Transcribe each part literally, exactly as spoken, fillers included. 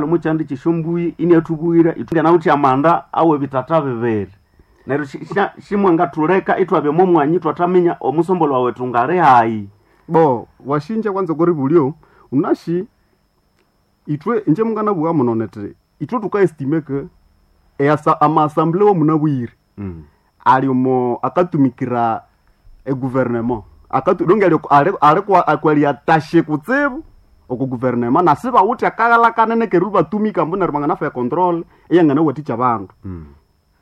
Omukyanda kyesyombui iniathubwira ithwanawithe amanda awebitata bibiri. Neryo shi- sha- shimwangathuleka ithwabya omo mwanya ithwathaminya omusombolwa wethu ngali hayi. Bo washinja kwanza okori bulyo unashi ithwe inje munganabugha muno nethi ithwe thukaestimate ke easa amaassemble womunabwire ali omo akatumikira egouvernement akatu donc ali ali ali akwali kutsibu oku gouvernement na sibawithe akaghala kanene keribya batumika ambu neryo banganafa econtrol eyanganawathikya abandu.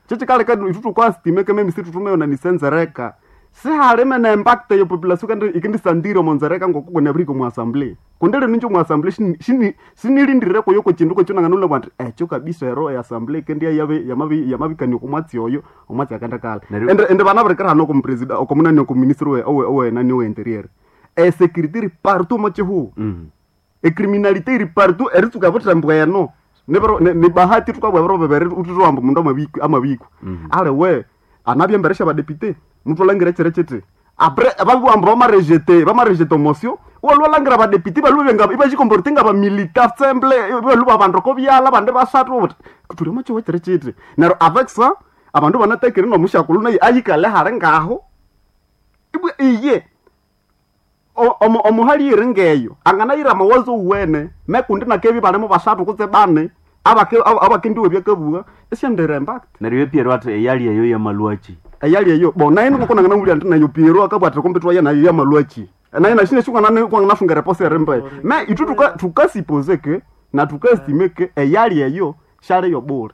Kyekikaleka ithwe thukaestimate ke memisi thuthumeyonanisa enzereka sihalime ne impact eyo population kandi ikendisandira omo nzereka ngoko kunabirihika omu assembly kundi lino inje omu assembly shini- shini- sinilindirire kuyo kwekindu kwekyo nanganulabwa nthi ekyo kabisa ero eassembly ikendya yabe- yamabi- yamabikania oko mwatsi oyo omwatsi akendikala Neryo- ende ende banabirikira hano okomupresida okomunani okoministry owe- owe owenani owe interior esecurity iri partout omo kihugho ecriminalité iri partout eritsuka buthembu eno Nibiro- ni ni bahati thukabwa ebiro bibiri uthithuhamba omundu amabikwa amabikwa ale we anabya embere syabadepite muthu alhangira ekiro kiti apres babibugha ambu bamarejete bamarejete motion iwalwa walhangira abadepite ibalhwa nga ibajikomporte ngabamilita semble ibalhwa abandu oko byalha abandi basathu ubuthi thuli omo kihugho ekiro kiti neryo avec ça abandu banatakire nomusyakulhu naye ayikale hali ngaho ibwa iye o- omu- omuhali ngeyo anganayira amawazo uwene mekundi nakebi balimo basathu kutse bane abake- aba- abakendiwe byakabugha isyandira impact Neryo Pierre athi eyali eyo yamalwaki. eyali eyo bo naye niko nanganamubwira nti nayo Piero akabwatira kumbi twaya nayo yamalwaki naye nashine shikwananafunga reposa erimbe me ithu tuka tukasipose ke na tukaestime ke eyali eyo shali yobule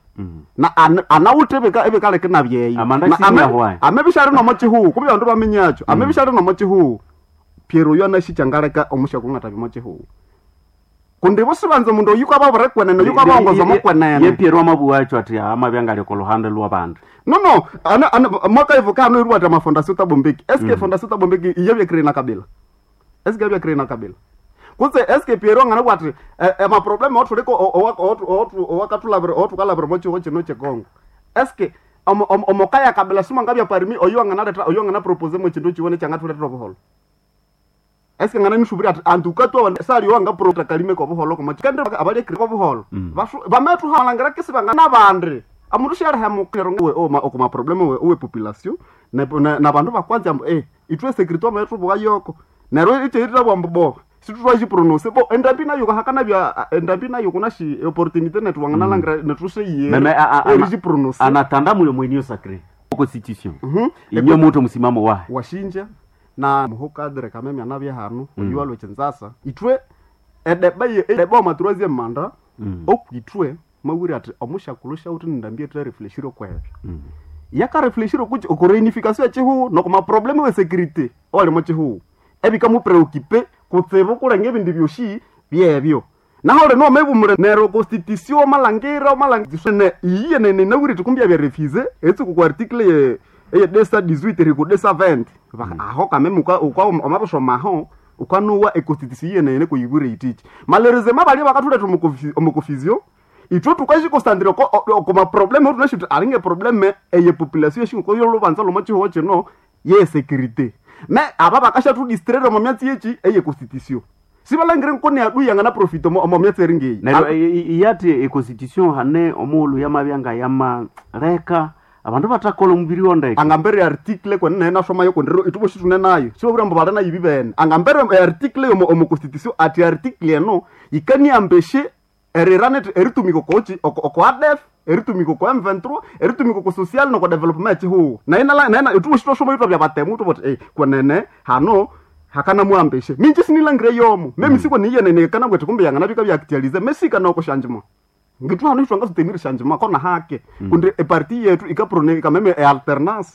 na ana- anawuthe ebika- ebikaleka nabyeyo Amanda Na ame- sinahwayo. amebishali nomo kihugho kumbi abandu baminyakyo amebishali nomo kihugho Piero oyo anashikyangaleka omushaku ngatabya omo kihugho kundi busibanza omundu oyu kwababure kwenene oyu kwabawongoza omo Ye kwenene Pierre amabugha athi amabya ngali oko luhande lwabandu. no no ana ana mwaka ivo kano iri wata mafondation tabombeki eske fondation tabombeki iye bya na kabila eske bya na kabila kutse eske Piero ngana bwati ema problem othuliko owakatulabira otukalabira mo chiho chino chekongo eske omo- omo- omokaya kabila simanga bya parmi oyo anganaleta oyo angana propose mo chindu chiwone changathuletera obuholo eske ngana nishubiri ati antu ukatwa sali wanga pro kalime ko buholo komo kandi abalye ko buholo basu bamethu halangira kisi bangana bandi amundu shali hamu we oma okoma problem we we population na na, na bandu bakwanza ambu eh itwe security amethu buka yoko nero ite ita bwambu bo situtwaji prononce bo endambi nayo hakana bya endambi nayo kuna shi opportunité netu wangana langira netu se Meme a- a- ana- ye prononce anatanda mulio mwenio sacré constitution. Mhm. Inyo mutu msimamo wahe. washinja na muhokadre kameme anabya hanu mm. oyu alwe chinzasa itwe edeba ye edeba oma troisième manda Mm. okwitwe mawiri ati omushakulhu shawuthi nindambie twe refleshire kwebyo yakarefleshire kuchi okureunification echihuhu nokuma probleme we security owali chihuhu ebikamupreocupe kutsibu kulenga ebindi byoshi byebyo naho lino omebumule neryo constitution omalangira omalangira iye nene nawiri tikumbi bya etsuku ku article ye eye desa dix-huit riku desa vingt Vaka- aho kameme uka uka omabisoma ukanuwa econstitution iye nene kuyibwire yitichi malheureusement balya bakathuletha omu confusion ithwe tukashikosandira okoma probleme otunashuti alinge probleme eye population yeshingoko yolubanza lomo chihuho chino ye security me aba bakashathudistraire omo myatsi yechi eye constitution sibalangire nkoni adui yangana profit omo omo myatsi eringeyi Neryo i- i- iyati econstitution hane omughulhu yamabya nga yamaleka abandu bathakolha omubiri wondeke. angambere article kwene naye nasoma yokondero itubo shitune nayo sibabura mbu bali nayo bibene angambere article yomo omo constitution ati article eno yikaniambeshe erirane eritumika okochi oko oko A D F eritumika oko M vingt-trois eritumika oko social noko development echihuhu naye nala naye itubo shitwasoma itwa bya batemu tubo eh kwenene hano hakana muambeshe minji sinilangire yomo memi siko niyenene kana bwete kumbe yangana bika bya mesika noko shanjima ngithu hano itwanga sutemiri shanjima kona hake kundi eparti yetu ikaprone ikameme e alternance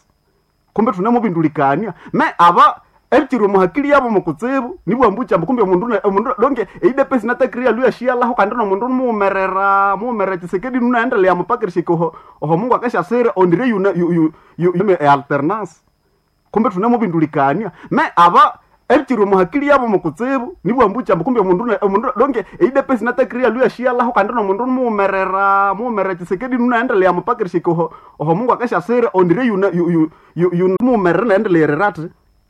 kumbe tunemubindulikania me aba ebikiri omuhakili yabo mukutsibu nibwambukyamba kumbe omundu ne- omundu donke eidepesi natakiriya luya shiyalaho kandi nomundu muwumerera muwumerera Tshisekedi nunaendelea mupakirishika oho oho mungu akashasira ondire yuna yu, yu, yu, yu, e alternance kumbe tunemubindulikania me aba ebikiri omuhakili yabo mukutsibu nibwambukyamba kumbe omundu ne- omundu donke eidepesi natakiriya luya shiyalaho kandi nomundu muwumerera muwumerera Tshisekedi nunaendelea mupakirishika oho oho mungu akashasira ondire yuna yu, yu, yu, yu, muwumerera naendelea ati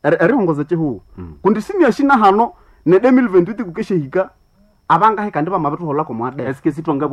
erihongoza chihuhu kundi siniashina hano ne deux mille vingt-huit kukeshehika abangahe kandi bamabithuholako mwadebe Eske sithwanga